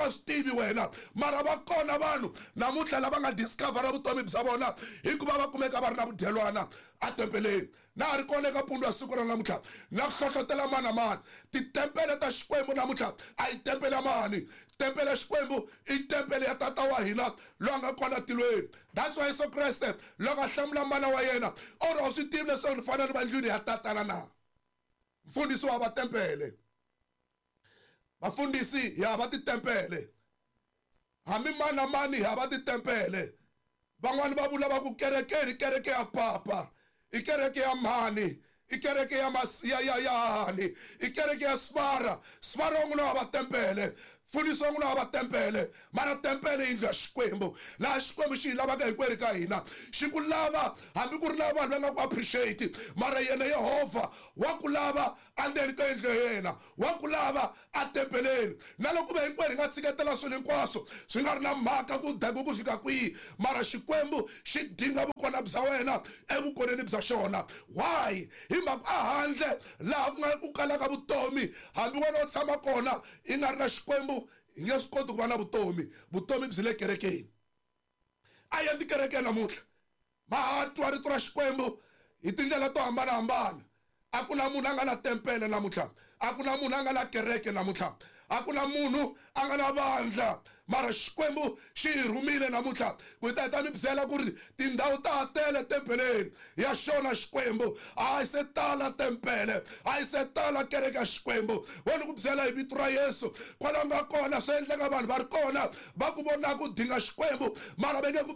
nga swi tivi wena, mara va kona vanhu namuntlha lava nga discovera vutomi bya vona hikuva va kumeka va ri na vudyelwana atempeleni. Na ha ri kona eka pundu ya siku ra namuntlha na ku hlohlotela mani na mani. Titempele ta Xikwembu namuntlha a yi tempele ya mani. Tempele ya Xikwembu i tempele ya Tata wa hina loyi a nga kona tilweni. That's why Yesu Kreste loko a hlamula mana wa yena o ri, a wu swi tivi leswaku ni fanele ni va ndlwini ya Tatana na? Mfundhisi wa va tempele. Vafundhisi hi hava titempele. Hambi mani na mani hi hava titempele. Van'wani va vula va ku kereke i kereke ya papa, i kereke ya mhani, i kereke ya ya ya ya hani, i kereke ya svara. Svara wa n'wina wa va tempele, mfundhisi wa n'wina wa va tempele, mara tempele yindlu ya Xikwembu, laha Xikwembu xi hi lavaka hinkwerhu ka hina. Xi ku lava hambi ku ri na vanhu va nga ku appreciate, mara yena Yehovha wa ku lava endzeni ka yindlu ya yena, wa ku lava atempeleni. Na loko ve hinkwerhu hi nga tshiketela swilo hinkwaswo swi nga ri na mhaka ku dakiwe ku fika kwihi, mara Xikwembu xi dinga vukona bya wena evukoneni bya xona. Why? Hi mhaka a handle laha ku nga ku kalaka vutomi, hambi wena u tshama kona i nga ri na Xikwembu, hi nge swi koti ku va na vutomi. Vutomi byi le kerekeni. A hi yeni tikerekeni namuntlha, ma ha twa rito ra Xikwembu hi tindlela to hambanahambana. A ku na munhu a nga na tempele namuntlha, a ku na munhu a nga na kereke namuntlha, a ku na munhu a nga na vandla, mara Xikwembu xi hi rhumile namuntlha ku hi ta hi ta mi byela ku ri tindhawu ta ha tele tempeleni ya xona Xikwembu. A yi se tala tempele, a yi se tala kereke ya Xikwembu. Wo ni ku byela hi vito ra Yesu, kwala u nga kona swi endleka vanhu va ri kona va ku vonaka u dinga Xikwembu, mara va nge ku